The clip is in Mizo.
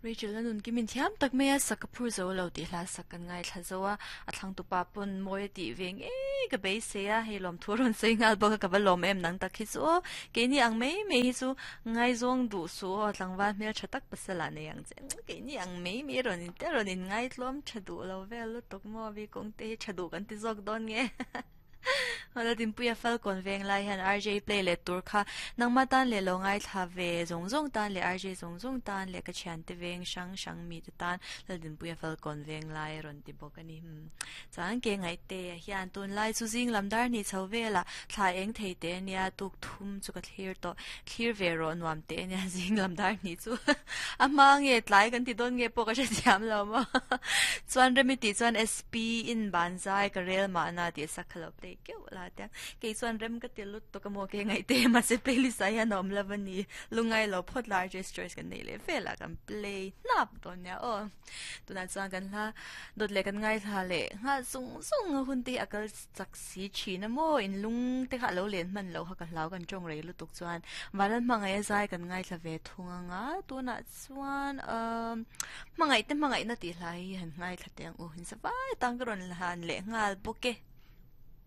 Rachel a nun kimin thiam tak mai a, sak ka phur zo lo tih hla sak kan ngaithla zo a, a thlangtupa pawn mawi a tih ve ngei ka beisei a, hei lawmthu a rawn sawi nghal bawk a, ka va lawm em nang tak hi chu aw, keini ang mai mai hi chu ngaizawng duh suh aw, tlangval hmel tha tak pasal ah nei ang che, keini ang mai mai rawn in te rawn in ngaitlawm tha duh lo vel lutuk maw, Vikawng te hi tha duh kan ti zawk dawn nge. Hawla Dinpuia Falkawn veng lai hian RJ play leh tur kha nangma tan leh lo ngaithla ve zawng zawng tan leh RJ zawng zawng tan leh ka thiante veng hrang hrang mite tan Laldinpuia Falkawn veng lai a rawn ti bawk a ni. Umm chuan ke ngaihte hian tunlai chu zing lam dar hnih chho velah thla eng thei teh ania tuk thum chu ka thlir tawh thlir ve rawh nuam teh ania zing lam dar hnih chu a hma nge tlai kan ti dawn nge pawh ka hrethiam lo maw chuan remi tih chuan Pi in ban zai ka rel mahna tih sak kha lo play keuh la tia. Kei chuan rem ka ti lut tawk a maw ke ngaih te mahse playlist ah hian a awm lo a ni. Lungngai lo phawt la RJ's Choice kan neih leh vel ah kan play hnap dawn nia aw. Tunah chuan kan hla dawt leh kan ngaithla leh nghal zung zung a hun te hi a kal chak si thin a maw in lung te kha a lo len hman loh kha ka hlau kan tawng rei lutuk chuan Vanlal hmangaih a zai kan ngaithla ve thung anga tunah Chuan umm hmangaih te hmangaihna tih hlai hi han ngaithla teh ang u. Insa vai tan ka rawn han leh nghal bawk e.